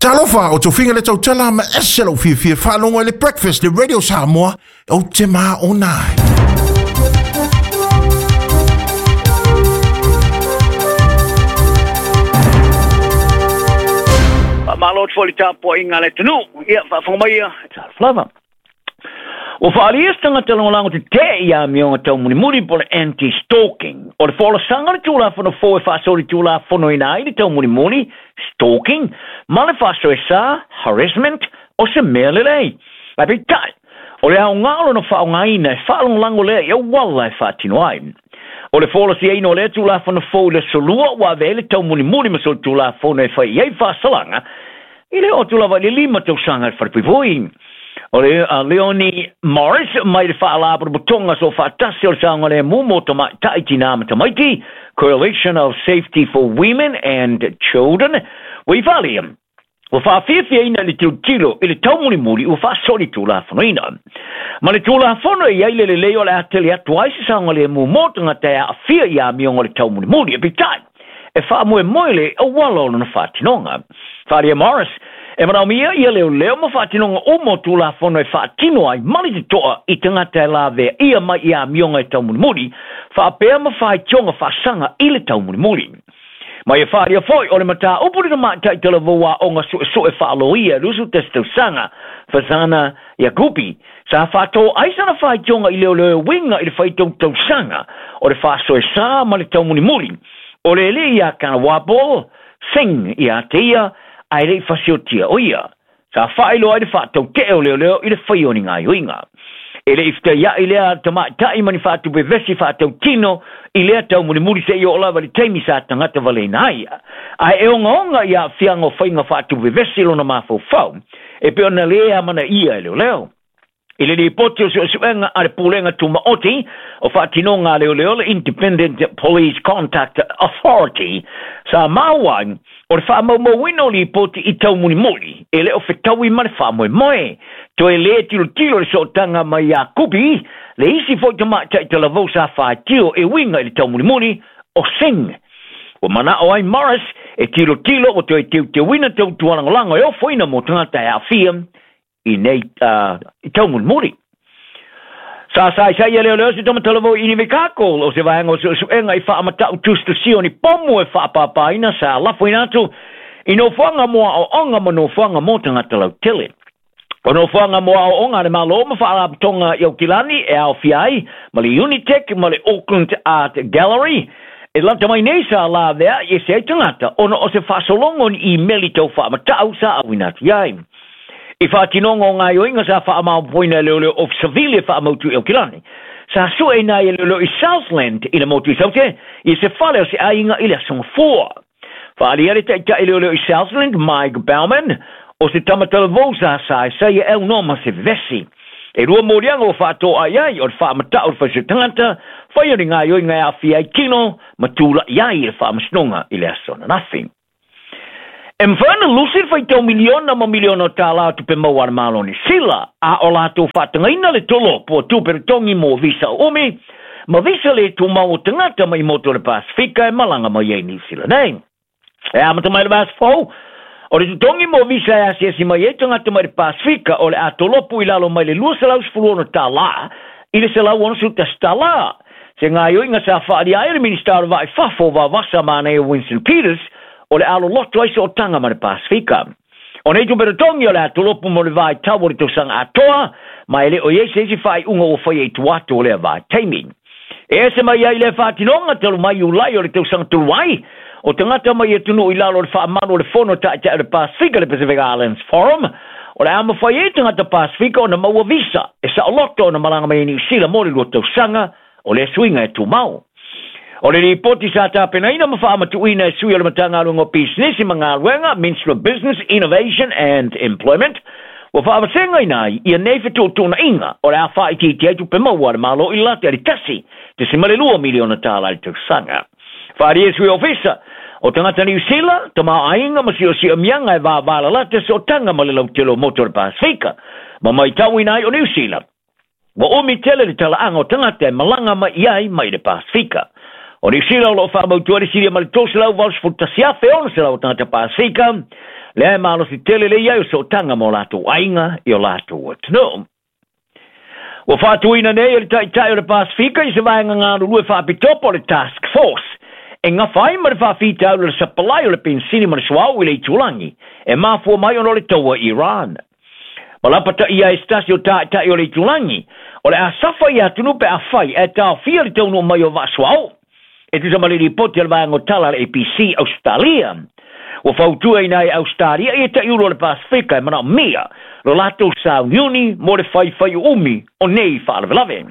Talofa, o tofiga le tautala ma ese lou fiafia faalogo i le Breakfast le Radio Samoa, ou te maona ai. Faamalo atu foi i le tapuaiga a le atunuu. Ia, faafofoga mai ia. Talofa lava. Ua faaalia se tagata lagolago tetee i amioga taumulimuli po o le anti-stalking. O le folasaga o le Tulafono fou e faasolitulafonoina ai le taumulimuli, stalking, ma le faasoesa, harassment, o se mea lelei. Ae peitai, o le aoga o lona faaaogaina e faalagolago lea i auala e faatino ai. O le folasiaina o lea Tulafono fou i le Aso Lua ua avea ai le taumulimuli ma solitulafono e fai i ai faasalaga i le oo atu lava i le 5 tausaga i le falepuipui. O le a Leonie Morris mai le Faalapotopotoga Soofaatasi o le Saogalemu mo Tamaitai, Tinā ma Tamaiti, Coalition of Safety for Women and Children, ua i faaalia, ua faafiafiaina i le tilotilo i le taumulimuli ua faasolitulafonoina. Ma le Tulafono e i ai le lelei o le a tele atu ai se saogalemu mo tagata e aafia i amioga o le taumulimuli. E peitai, e faamoemoe le auala o lona faatinoga. Faaalia Morris, e manaomia ia leoleo ma faatinoga uma o Tulafono e faatino ai ma le totoa i tagata e lavea ia mai i amioga e taumulimuli, faapea ma faitioga faasaga i le taumulimuli. Ma ia faaalia foi o le mataupu le tamaitai talavou aoga suesue faaloia e 21 tausaga, Fazana Yagubi, sa faatō ai sana faitioga i leoleo e uiga i le faitau tausaga o le faasoesa ma le taumulimuli o le alii ia Kanawapol Singh ia te ia, ae le i fasiotia o ia. Sa faailoa ai le faatautee o leoleo i le faia o ni gaoioiga. E le i fetaiai lea tamaitai ma ni faatupe vesi faatautino i lea taumulimuli seia oo lava i le taimi sa tagata valeina ai. Ae e ogaoga i aafiaga o faiga faatupe vesi lona mafaufau, e pei ona le amanaia e leoleo. I le lipoti o suesuega a le Pulega Tumaoti o Faatinoga a Leoleo le Independent Police Conduct Authority, sa maua ai o le faamaumauina o lipoti i taumulimuli e le o fetaui ma le faamoemoe. Toe lē tilotilo le sootaga mai ia Kupi, le isi foi tamaitai talavou sa faitio e uiga i le taumulimuli o Singh. Ua manao ai Morris e tilotilo ua toe teuteuina tautualagolago e ofoina mo tagata e aafia i nei i taumulimuli. Sa saisai leoleo se tama talavou i Invercargill o se vaega o suesuega i faamatau tusitusia o ni pomu e faapapaina sa lafoina atu i nofoaga mo aoaoga ma nofoaga mo tagata lautele. O nofoaga mo aoaoga a le Malo ma faalapotopotoga i Aukilani e aofia ai ma le Unitec ma le Auckland Art Gallery e lata mai nei sa laveai ese ai tagata ona o se faasologa o ni imeli tau faamatau sa auina atu i ai. I faatinoga o gaoioiga sa faamaopoopoina e leoleo Ofisa Sivili e faamautu i Aukilani. Sa sueina ai e leoleo i Southland i le motu i Saute i se fale o se aiga i le Aso Gafua. Faaalia le taitai leoleo i Southland, Mike Bauman, o se tama talavou sa saisai e aunoa ma se vevesi. E 2 moliaga ua faatoa ai ai o le faamatau o le faisua tagata, faia o ni gaoioiga e aafia ai tino ma tula'i ai i le faamasinoga i le aso ananafi. E mafai ona lusi le faitau miliona ma miliona o tālā o tupe maua a le Malo o Niu Sila, a o latou faatagaina le tolopo o tupe totogi mo visa o umi, ma visa le tumau o tagata mai motu o le Pasifika e malaga mai ai Niu Sila nei. E amata mai le vaiaso fou, o le totogi mo visa e asiasi mai ai tagata mai le Pasifika o le a tolopo i lalo mai le $216 i le $161. Se gaoioiga sa faaalia ai le Minisita o le Vaa i Fafo o Vavasa Manaia Winston Peters o le a loloto ai sootaga ma le Pasifika. O nei tupe totogi o le a tolopo mo le vaitau o le tausaga atoa, ma e le o i ai se isi faaiuga ua faia i tua atu o lea vaitaimi. E ese mai ai lea faatinoga talu mai Iulai o le tausaga talu ai, o tagata mai atunuu i lalo o le faamalu o le Fono Taitai o le Pasifika, le Pacific Islands Forum, o le a mafai ai tagata Pasifika ona maua visa e saoloto ona malaga mai i Niu Sila mo le 2 tausaga o lea suiga e tumau. O le lipoti sa tapenaina ma faamatuuina e sui o le Matagaluega o Pisinisi ma Galuega, Ministry of Business, Innovation and Employment, ua faavasegaina ai ia nei fetuutuunaiga o le a faaitiitia ai tupe maua a le Malo i le lata i le $1.2 miliona tālā i le tausaga. Faaalia e sui ofisa o tagata Niu Sila, tamaoaiga ma siosiamiaga e vavalalata sootaga ma le lautele o motu o le Pasifika, ma maitauina ai o Niu Sila. Ua umi tele le talaaga o tagata e malaga mai i ai mai le Pasifika. O Niu Sila o loo faamautua le silia ma le 381,600 o tagata Pasifika, Lea e malosi tele le i ai o sootaga ma o latou aiga i o latou atunuu. Ua faatuina nei e le Taitai o le Pasefika i se vaega galulue faapitoa po o le Task Force e gafa ai ma le faafitauli o le sapalai o le penisini ma le suauu i le itulagi e mafua mai ona o le taua i Iran. Ma lapataia ai se tasi o taitai o le itulagi, o le a safa ia atunuu pe afai ae taofia le taunuu mai o vaa suauu. E tusa ma le lipoti a le vaega o tala a le ABC Ausetalia. Ua fautuaina ai e Ausetalia ia taiulu o le Pasefika e manaomia lo latou sauniuni mo le faifaiuumi o nei faalavelave.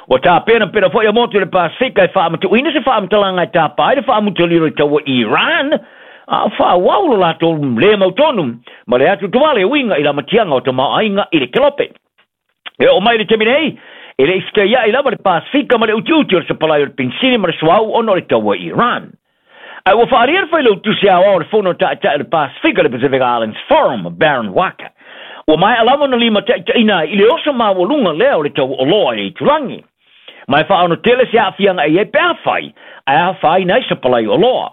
Ua tapenapena foi a motu i le Pasefika e faamatuuina se faamatalaga e tapa ai le faamutalilo i taua Iran, a o faaauau lo latou le mautonu ma le atuatuvale e uiga i lamatiaga o tamaoaiga i le kelope. E oo mai i le taimi nei, e le i fetaiai lava le Pasefika ma le utiuti o le sapalai o le penisini ma le suauu ona o le taua i Iran. Ae ua faaalia le Failautusi Aoao o le Fono Taitai o le Pasefika, le Pacific Islands Forum, Baron Waqa. Ua maea lava ona limataitaiina ai i le oso maualuga lea o le tau oloa i le itulagi. Ma e faaono tele se aafiaga e i ai pe afai ae afaina ai sapalai oloa.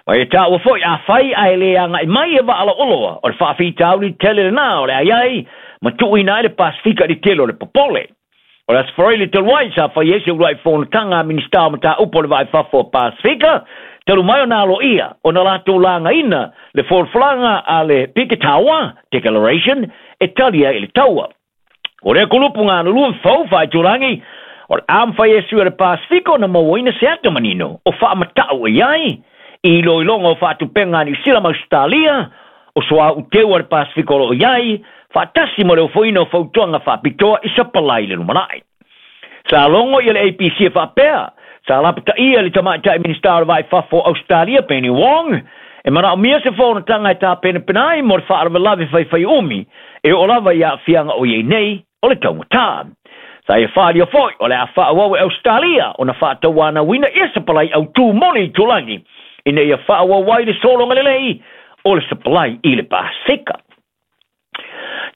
Ma e taua foi afai ae le agai mai e vaa oloa, o le faafitauli tele lena o le a i ai ma tuuina ai le Pasefika i le tele o le popole. O le Aso Faraile talu ai sa fai ai se uluai fonotaga a Minisita o Mataupu o le Vaa i Fafo o Pasefika, talu mai ona aloaia ona latou lagaina le folafolaga a le Biketawa Declaration e tali ai i le taua. O lea kulupu galulue fou faaitulagi, o le a mafai e sui o le Pasefika ona mauaina se ata manino o faamatau e i ai i iloiloga o faatupega a Niu Sila ma Ausetalia, o suauu teu a le Pasefika o lo o i ai, faatasi ma le ofoina o fautuaga faapitoa i sapalai i le lumanai. Sa logo ia le ABC e faapea, sa lapataia le tamaitai Minisita o le Vaa i Fafo o Ausetalia, Penny Wong, e manaomia se fonotaga e tapenapena ai mo le faalavelave faifaiumi e oo lava i aafiaga o i ai nei o le taugata. Sa ia faaalia foi o le a faaauau e Ausetalia ona faatauanauina ia sapalai autū mo le itulagi ina ia faaauau ai le sologa lelei o le sapalai i le Pasefika.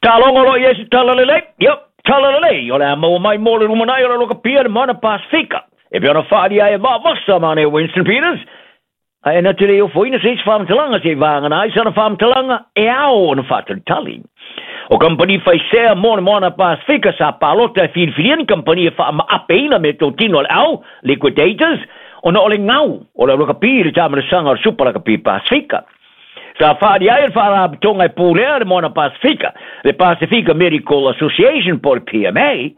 Taaloga o lo o i ai se tala lelei, yep, tala lelei, o le a maua mai mo le lumanai o le lokapia le moana Pasefika. E pei ona faaalia ai e Vaavasa ma ne Winston Peters, ae na te le i ofoina se isi faamatalaga se i vagana ai sana faamatalaga e ao ona faatalitali. O kamupani faisea mo le Moana Pasefika sa palota e filifilia ni kamupani e faamaapeina meatotino a le au, liquidators, ona o le gau o le aulakapi i le taamanasaga o le Supa Lakapi Pasefika. Sa faaali ai le Faalapotopotoga e pulea le Moana Pasefika, le Pasefika Medical Association po o le PMA,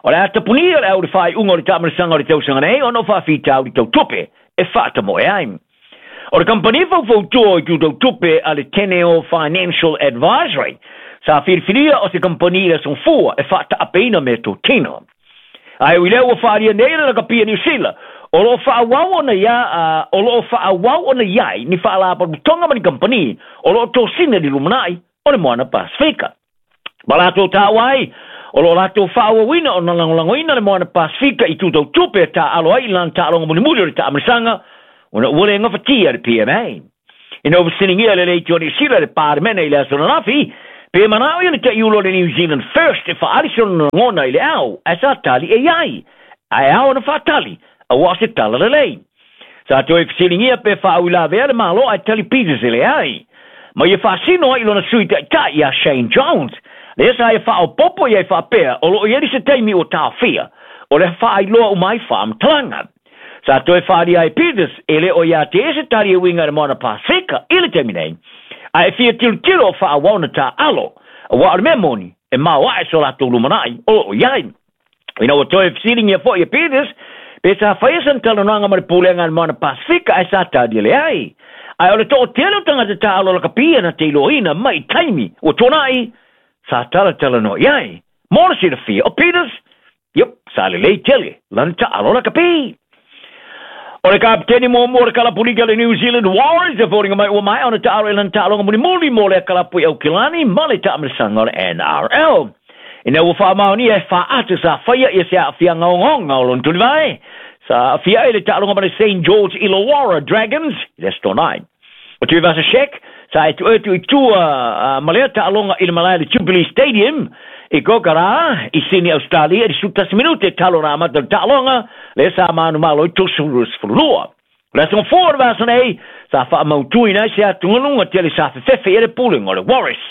o le a tapunia le au i le faaiuga o le taamanasaga o le tausaga nei ona o faafitauli tau tupe e faatamoe ai. O le kamupani faufautua o itu tau tupe a le Teneo Financial Advisory sa filifilia o se kamupani i le aso Gafua e faataapeina meatotino. Ae ui lea ua faaalia nei le lakapi a Niu Sila, o lo o faaauau ona ia, o lo o faaauau ona i ai ni faalapotopotoga ma ni kamupani o lo o tosina i le lumanai o le Moana Pasefika. Ma latou taua ai, o lo o latou faaauauina ona lagolagoina le Moana Pasefika i itu tau tupe e taaalo ai i lana taaloga mulimuli o le taamanasaga ona ua le gafatia le PMA. Ina ua fesiligia e le Leitio a Niu Sila le Palemene i le aso ananafi, pe manao ia le taiulu o le New Zealand First e faaali sona lagona i le ao, ae sa tali e i ai, ae ao ona faatali, aua o se tala lelei. Sa toe fesiligia pe faauilavea le Malo ae tali Peters e leai. Ma ia faasino ai i lona sui taitai ia Shane Jones, lea sa ia faaopoopo i ai faapea o lo o i ai se taimi ua taofia o le faailoa uma ai faamatalaga. Sa toe faaalia ai Peters e le o ia te ia se tali e uiga i le Moana Pasefika i le taimi nei, ae fia tilotilo o faaauau ona taaalo, aua o le mea moni, e maoae so latou lumanai o lo o i ai. Ina ua toe fesiligia foi e Peters pe sa faia sana talanoaga ma le Pulega a le Moana Pasefika ae sa tali e leai. Ae o le toatele o tagata taaalo lakapi na te iloaina mai i taimi ua tuanai, sa talatalanoa i ai. Mo le silafia o Peters, Yup, sa lelei tele lana taalo lakapi. O le kapiteni muamua o le kalapu lika a le New Zealand Warriors e foliga mai ua maea ona taalo i lana taaloga mulimuli mo lea kalapu i Aukilani ma le taamanasaga o le NRL. Ina ua faamaonia e faata sa faia ia se aafiaga ogaoga o lona tulivae, sa aafia ai le taaloga ma le Saint George Illawarra Dragons i le Aso Toonai. O Tuivasa-Sheck sa e tuuatu i tua ma lea taaloga i le malae le Jubilee Stadium i Kogarah i Sydney, Australia i le 11 minute talo na amata le taaloga lea sa manumalo i 32. O le aso gafua o le vaiaso nei, sa faamautuina ai se atugaluga tele sa fefefe i ai le pulega o le Warriors.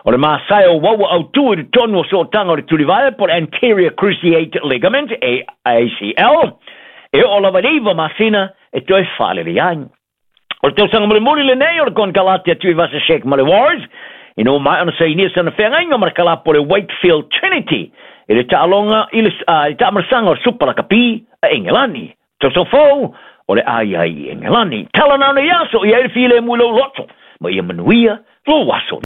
O le masae o uaua autu i totonu o sootaga o le tulivae po o le anterior cruciate ligament, ACL, e oo lava i le 9 masina e toe faalelei ai. O le tausaga mulimuli lenei o le konekarate a Tuivasa-Sheck ma le Warriors, ina ua maea ona sainia sana feagaiga ma le kalapu o le Wakefield Trinity i le taaloga i le taamalasaga o le Supa Lakapi a Engelani. Tausaga fou o le a i ai i Engelani. Tala na nei aso i ai le filemu i lou loto, ma ia manuia lou aso.